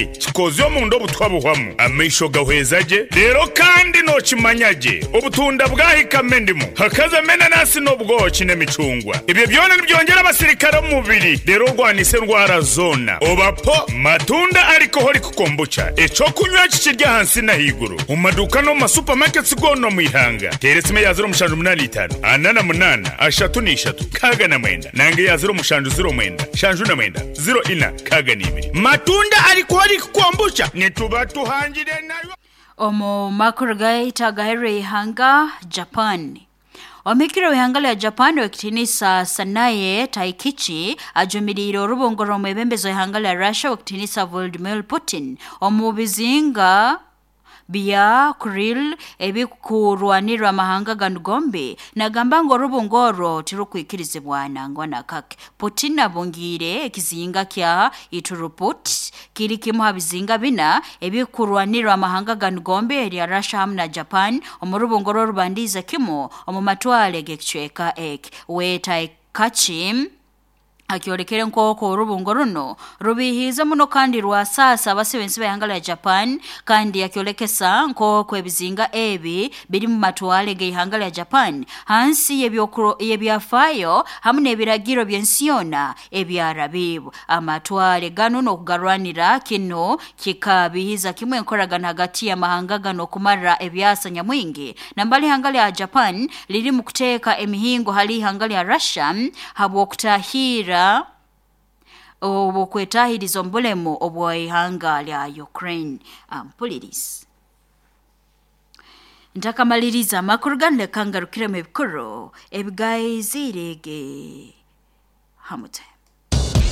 Kikoze omunda obutwa buhwamu, amaisho gahweza gye, reero kandi nookimanya gye obutunda bwahikamu endimu, hakazamu enanasi n'obwoki n'emicungwa. Ebyo byona nibyongyera abasirikare omu mubiri reero orwanise endwara zoona. Oba po Matunda Alcoholic Kombucha, eky'okunywa eki kiri ahansi n'ahaiguru omu maduuka n'omu ma supermarkets goona omu ihanga. Teera esimu eya 0785 48 33 69 nanga eya 0709 79 04 62. Matunda Alcoholic Kombucha nituba tuhangire nayo. Omu makuru gaitu agaherire ihanga Japan. Omuhikire w'ihanga lya Japan ow'ekitiinisa Sanae Taikichi ajumiriire orubungo rw'omwebembezi w'ihanga lya Russia ow'ekitiinisa Vladimir Putin omu bizinga bya Kuril ebikurwanirwa amahanga ganu gombi. Nagamba ngu orubungo orwo tirukwikirizibwa nangwa nakake. Putin abungiire ekizinga kya Ituruput kiri kimu ha bizinga bina ebikurwanirwa amahanga ganu gombi erya Russia hamu na Japan omu rubungo rw'orubandiize kimu omu matwale g'ekicweka eki. We Taikachi akyolekere nk'oku orubungo runo rubihiize muno kandi rwasaasa abasibe ensi b'ihanga lya Japan, kandi yakyolekesa nk'oku ebizinga ebi biri mu matwale g'ihanga lya Japan hansi y'ebyafaayo hamu n'ebiragiro by'ensi yoona ebyarabiibwe. Amatwale ganu n'okugarwanira kino kikabihiza kimwe enkoragana hagati y'amahanga gano okumara ebyasa nyamwingi. Nambali ihanga lya Japan liri mu kuteeka emihingo hali ihanga lya Russia habw'okutahirra obwokwetahiriza omu bulemu obw'ihanga lya Ukraine. Ampulirizi ntakamaliriza amakuru ganu, leka ngarukiremu ebikuru ebigaizirege hamute.